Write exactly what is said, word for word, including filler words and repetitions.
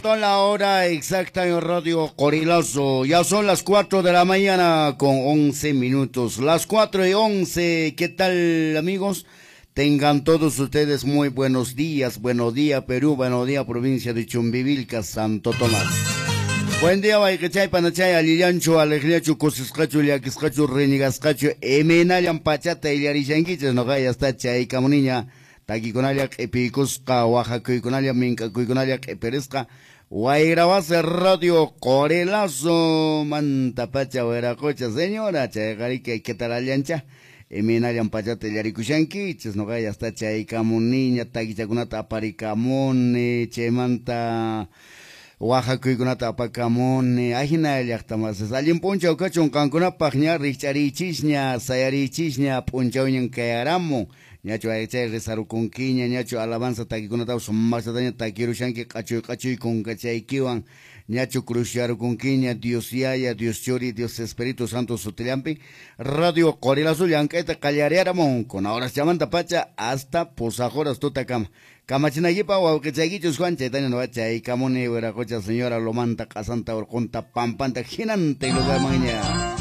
Punto la hora exacta en Radio Qorilazo. Ya son las cuatro de la mañana con once minutos. Las cuatro y once. ¿Qué tal, amigos? Tengan todos ustedes muy buenos días. Buenos días, Perú. Buenos días, provincia de Chumbivilcas, Santo Tomás. Buen día, wayqichay, panachay, allillanchu, alegriachu, kusisqachu, llakisqachu, renigasqachu, imaynallan pachata illarishankichis, noqa ya está chaykamuniña, takikunalla q'ipiykusqa, waqakuykunalla, mink'akuykunalla q'ipirisqa, Wayrawasi Radio Qorilazo mantapacha wiraqocha, señora, chayqariki ¿qué tal allancha? Imaynallan pachata illarikushankichis, noqa ya está chaykamuniña, takichakunata aparikamuni, chaymanta waqakuykunata apakamuni, ajina llaqtamasis. Allin p'unchaw kachun qankunapaq ña rikch'ariychisña, sayariychisña, p'unchawñan kayaramun. Ñachu aychay rezarukunkiña, ñachu alabanza takikunatapas sumaqllataña takirushanki q'achuy q'achuy kunkachaykiwan, ñachu cruzyarukunkiña, Dios Yaya, Dios Churi, Dios Espíritu Santo sutillampi. Radio Qorilazo llank'ayta qallariyaramun, kuna horas pacha hasta pusaq horas tutakama. Kamachinaykipa wawqichaykichus Juan, chaytaña nuqa chaykamuni wiraqocha señora lomanta q'asanta urqunta pampanta hinanta lugarmanña.